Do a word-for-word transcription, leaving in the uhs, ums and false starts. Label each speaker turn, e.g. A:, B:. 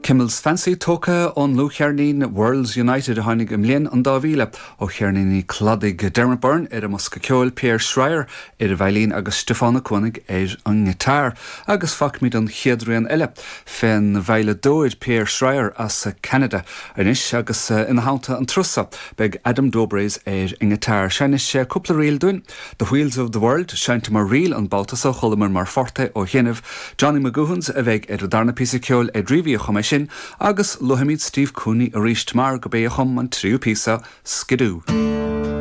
A: Kimmel's Fancy tógtha ón ndlúthcheirnín Worlds United a tháinig i mbliain an dá mhíle ó cheirníní Cladaigh Dermot Byrne ar an mbosca ceoil Pierre Schreier ar an veidhlín agus Stiofán Ó Cuanaigh ar an ngiotár agus fágfaimid an chéad rian eile fén veidhleadóir Pierre Schreier as Canada anois agus ina theannta an turas seo beidh Adam Dobres ar an ngiotár Seinnfidh sé cúpla ríl dúinn The Wheels of the World seinnte mar ríl an babhta seo chualamar mar forte ó chianaibh Johnny McGoohans a bheidh ar an darna píosa ceoil Ed Reavy a chum é sin agus luafaimid Steve Cooney arís mar gurb é a chum an tríú píosa Skidoo.